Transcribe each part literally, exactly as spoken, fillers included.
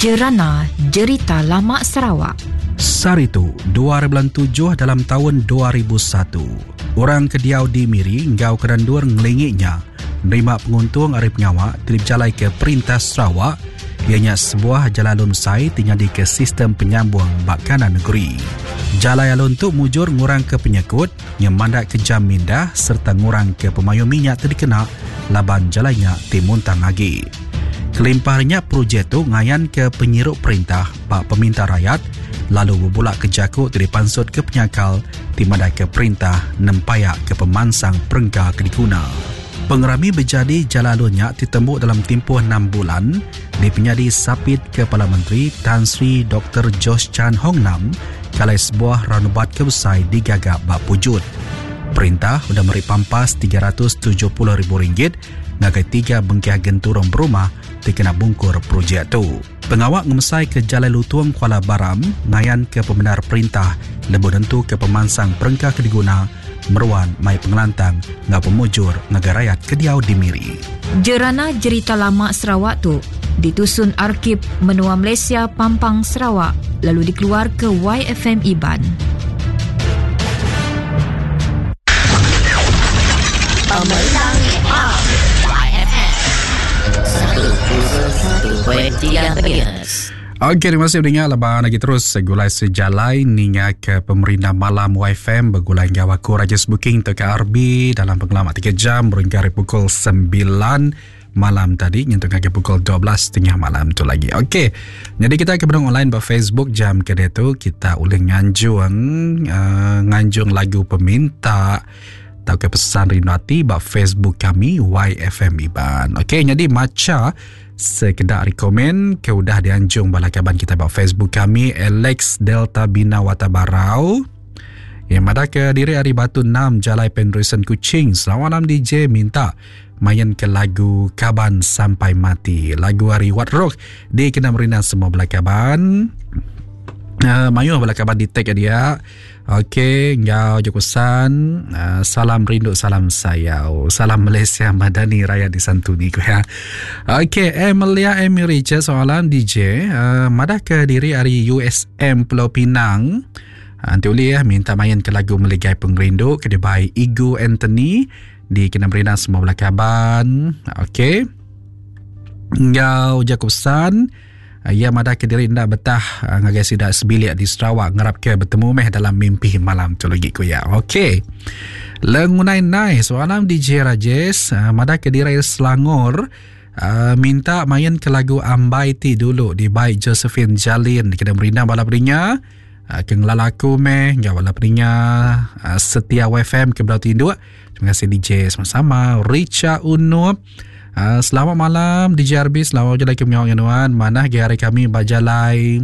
Jerana Jerita Lama Sarawak. Saritu, dua bulan tujuh dalam tahun dua ribu satu. Orang ke diau di Miri enggau kerendur ngelinginya nerima penguntung ari pengawa ti dipejalai ke Perintah Sarawak ianya sebuah jalai alun besai ti nyadi ke sistem penyambung bak kanan negeri. Jalai alun tu mujur ngurang ke penyekut, nyemandak ke jam mindah serta ngurang ke pemayuh minyak ti dikena laban jalainya ti muntang agi. Kelimpahnya projek tu ngayan ke penyiru perintah bak peminta rakyat lalu berbulak ke jaku ti dipansut ke penyakal ti madai ke perintah nempayak ke pemansang perengka ke diguna. Pengerami berjadi jalai alunnya ditembuk dalam tempoh enam bulan di penyadi sapit Kepala Menteri Tan Sri Doktor George Chan Hong Nam kalai sebuah roundabout kebesai digagak bak pujut. Perintah sudah meri pampas tiga ratus tujuh puluh ribu ringgit ngagai tiga bengkah genturung berumah ti kena bungkur projek tu. Pengawak ngemesai ke Jalai Lutung Kuala Baram ngayan ke pembenar perintah lebuh nentu ke pemansang perengka ke diguna meruan mai pengelantang ngau pemujur ngagai rakyat ke diau di Miri. Jerana Jerita Lama Sarawak tu ditusun Arkib Menua Malaysia Pampang Sarawak lalu dikeluar ke Y F M Iban. Pemenang Y F M satu satu point tiga M H. Okey, terima kasih mendengar lebaran lagi terus segulai sejalai ninga ke pemerintah malam Y F M bergulai ngau aku Rajesh Booking T K R B dalam pengalaman tiga jam berhingga pukul sembilan malam tadi nyentuh ke pukul dua belas setengah malam tu lagi. Okey. Jadi kita ke benung online ba Facebook jam ke dia tu kita boleh nganjung uh, nganjung lagu peminta atau ke pesan rindu hati ba Facebook kami Y F M Iban. Okey, jadi maca sekedar rekomen ke udah dianjung bala kaban kita ba Facebook kami Alex Delta Bina Watabarau. Yang ada ke diri hari Batu enam Jalai Penrusan Kuching. Selamat malam D J, minta main ke lagu Kaban Sampai Mati. Lagu hari Wat Rock di kena merina semua bala kaban. Uh, mayu bala kaban di tag dia. Okey, ngau jokusan, uh, salam rindu, salam sayau. Salam Malaysia Madani Raya disantuni ku ya. Okey, Emilia Amy Richard soalan D J, uh, madah ke diri hari U S M Pulau Pinang. Nanti boleh ya minta main ke lagu Meligai Pengerindu ke by Igu Anthony di kena merina semua bala kaban. Okey. Ngau Jacobson ia madah ke diri ndak betah ngagai sidak sebilik di Sarawak ngarap ke bertemu meh dalam mimpi malam tu lagi ku ya. Okey. Lengunai nai soalan D J Rajesh madah ke diri Selangor Uh, minta main ke lagu Ambai Ti dulu di by Josephine Jalin di kena merina bala peringa. Uh, ke ngelala aku meh ngau bala peringa uh, setia Y F M ke belau tinduk. Terima kasih D J sama-sama. Richa Unup. Uh, selamat malam D J R B, selamat berjalan ke pengawal nuan. Manah ge hari kami bajalai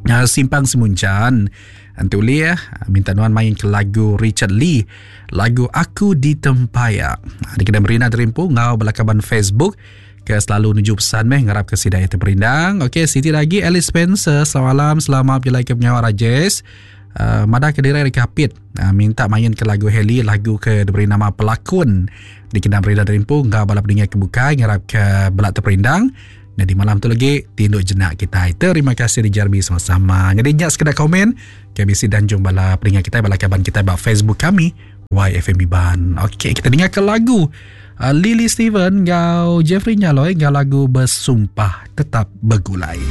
uh, Simpang Semunjan. Antu ya, minta nuan main ke lagu Richard Lee, lagu Aku di Tempaya. Di kena merina terimpu ngau belakaban Facebook ke selalu nuju pesan meh ngarap ke sidai terperindang. Okey, Siti lagi Alice Spencer, selamat malam, selamat berjalan ke pengawal Rajesh. Uh, madah ke diri Kapit, uh, minta main ke lagu Heli, lagu ke diberi nama Pelakon. Di kena merina terimpu ngau bala pendengar kebukai ngarap ke belak terperindang. Jadi malam tu lagi tinduk jenak kita. Terima kasih di Jarbi sama-sama. Jadi nyak sekedar komen K B C dan jom bala pendengar kita, bala kaban kita bak Facebook kami Y F M Iban. Okey, kita dengar ke lagu uh, Lily Steven ngau Jeffrey Nyaloi ngau lagu Bersumpah Tetap Begulai.